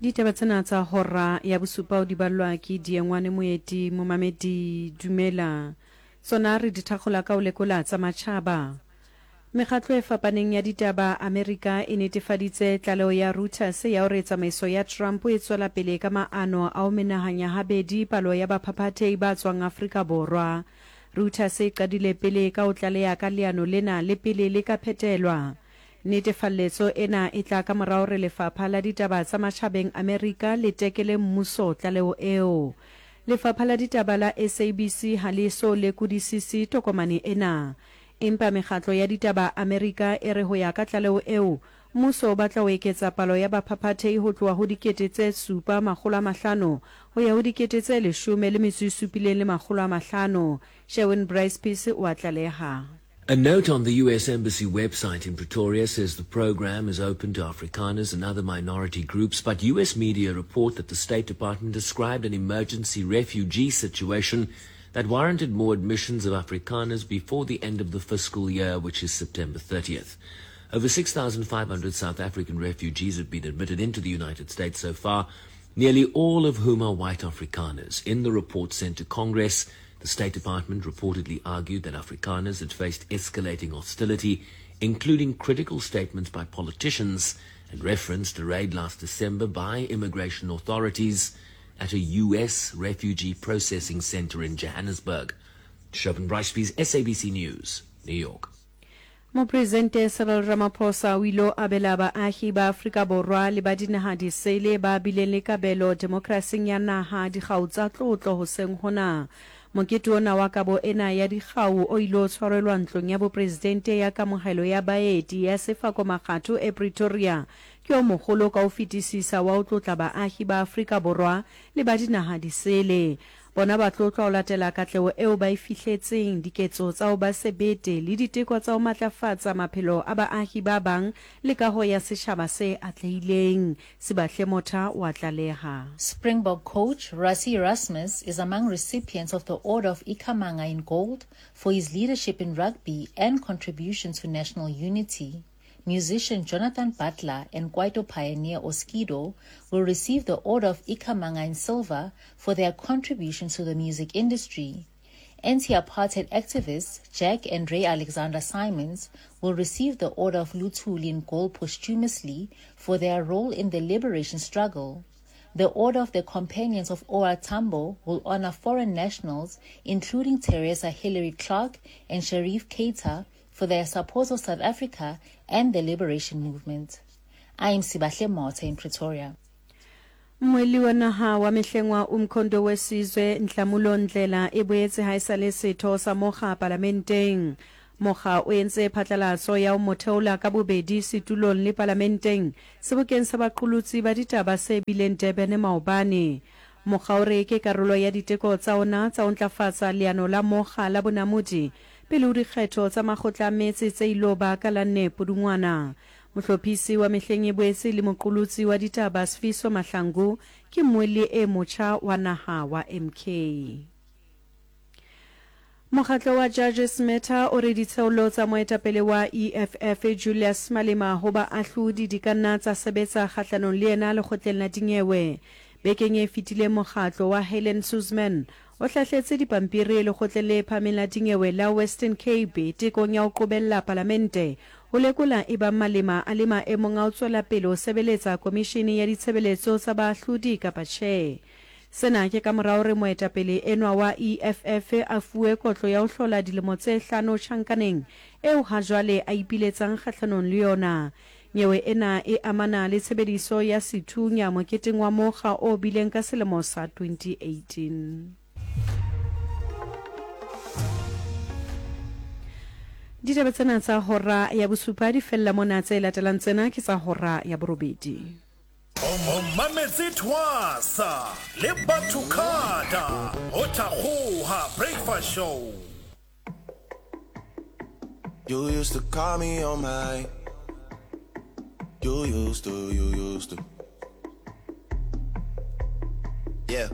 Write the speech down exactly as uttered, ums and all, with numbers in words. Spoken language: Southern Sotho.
Ditaba tsena tsa hora ya bosupa o di ballwa ke Diengwane Moeti momamedi dumela. Tsona re di thakgola ka ho lekola tsa matjhaba. Mekgatlo e fapaneng ya ditaba Amerika e netefaditse tlaleho ya Reuters ya hore tsamaiso ya Trump e tswela pele ka maano a ho menahanya habedi palo ya baphaphathehi ba tswang Afrika Borwa. Reuters e qadile pele ka ho tlaleha ka leano lena le pele le ka phetelwa. Netefalletso ena e tla ka mora hore Lefapha la Ditaba tsa Matjhabeng Amerika le tekele mmuso tlaleho eo. Lefapha la Ditaba la S A B C ha le eso lekodisise tokomane ena. Empa mekgatlo ya ditaba Amerika e re ho ya ka tlaleho eo, mmuso o batla ho eketsa palo ya baphaphathehi ho tloha ho dikete tse supa makgolo a mahlano ho ya ho dikete tse leshome le metso e supileng le makgolo a mahlano. Sherwin Bryce Pease o a tlaleha. A note on the U S Embassy website in Pretoria says the program is open to Afrikaners and other minority groups, but U S media report that the State Department described an emergency refugee situation that warranted more admissions of Afrikaners before the end of the fiscal year, which is September thirtieth. Over six thousand five hundred South African refugees have been admitted into the United States so far, nearly all of whom are white Afrikaners. In the report sent to Congress, the State Department reportedly argued that Afrikaners had faced escalating hostility, including critical statements by politicians, and referenced a raid last December by immigration authorities at a U S refugee processing center in Johannesburg. Sherwin Bryce-Pease, S A B C News, New York. Mopresidente Cyril Ramaphosa o ile abela baahi ba Afrika Borwa le ba dinaha disele ba bileng le kabelo demokrasing ya naha dikgau tsa tlotlo hoseng hona. Mokete ona wa kabo ena ya dikgau o ile o tshwarelwa ntlong ya bopresidente ya kamohelo ya baeti ya Sefako Makgatho e Pretoria. Ke o mogolo ka ho fetisisa wa ho tlotla baahi ba Afrika Borwa le ba dinaha disele. Bona ba tlotlwa ho latela katleho eo ba e fihletseng, diketso tsa ho ba sebete le diteko tsa ho matlafatsa maphelo a baahi ba bang le kaho ya setjhaba se atlehileng. Sibahle Motha wa tlaleha. Springbok coach Rassie Erasmus is among recipients of the Order of Ikhamanga in Gold for his leadership in rugby and contribution to national unity. Musician Jonathan Butler and Kwaito pioneer Oskido will receive the Order of Ikhamanga in Silver for their contributions to the music industry. Anti-apartheid activists Jack and Ray Alexander Simons will receive the Order of Luthuli in Gold posthumously for their role in the liberation struggle. The Order of the Companions of O R Tambo will honor foreign nationals, including Teresa Hillary Clark and Sharif Keita, for their support of South Africa and the liberation movement. I am Sibahle Motha in Pretoria. Mweli wa naha wa mehleng wa Umkhonto we Sizwe Nhlamulo Ndlela e boetse ha e sa le setho sa mokga palamenteng. Mokga o entse phatlalatso ya ho mo theola ka bobedi setulong le palamenteng sebokeng sa baqolotsi ba ditaba se bileng Durban maobane. Mokga o re ke karolo ya diteko tsa ona tsa ho ntlafatsa leano la mokga la bonamodi pele ho dikgetho tsa makgotla a metse tse ilo ba ka la nne Pudungwana. Mohlophisi wa mehleng e boetse le moqolotsi wa ditaba Sifiso Mahlangu ke mmuelli e motjha wa naha wa M K. Mokgatlo wa Judges Matter o re ditsheolo tsa moetapele wa E F F Julius Malema ho baahlodi di ka nna tsa sebetsa kgahlanong le yena lekgotleng la dinyewe. Bekeng e fetileng mokgatlo wa Helen Suzman o hlahletse dipampiri lekgotleng le phahameng la dinyewe la Western Cape tekong ya ho qobella palamente ho lekola ebang Malema a le maemong a ho tswela pele ho sebeletsa komishene ya ditshebeletso tsa baahlodi kapa tjhe. Sena ke ka mora hore moetapele enwa wa E F F a fuwe kotlo ya ho hlola dilemo tse hlano tjhankaneng eo ha jwale a ipiletsang kgahlanong le yona. Nyewe ena e amana le tshebediso ya sethunya moketeng wa mokga o bileng ka selemo sa twenty eighteen. Ditaba tsena tsa hora ya bosupa di fella mona, tse latelang tsena ke tsa hora ya borobedi. O mametse Twasa le Batho Khata ho Thakgoha Breakfast Show. You used to call me on my. You used to, you used to. Yeah.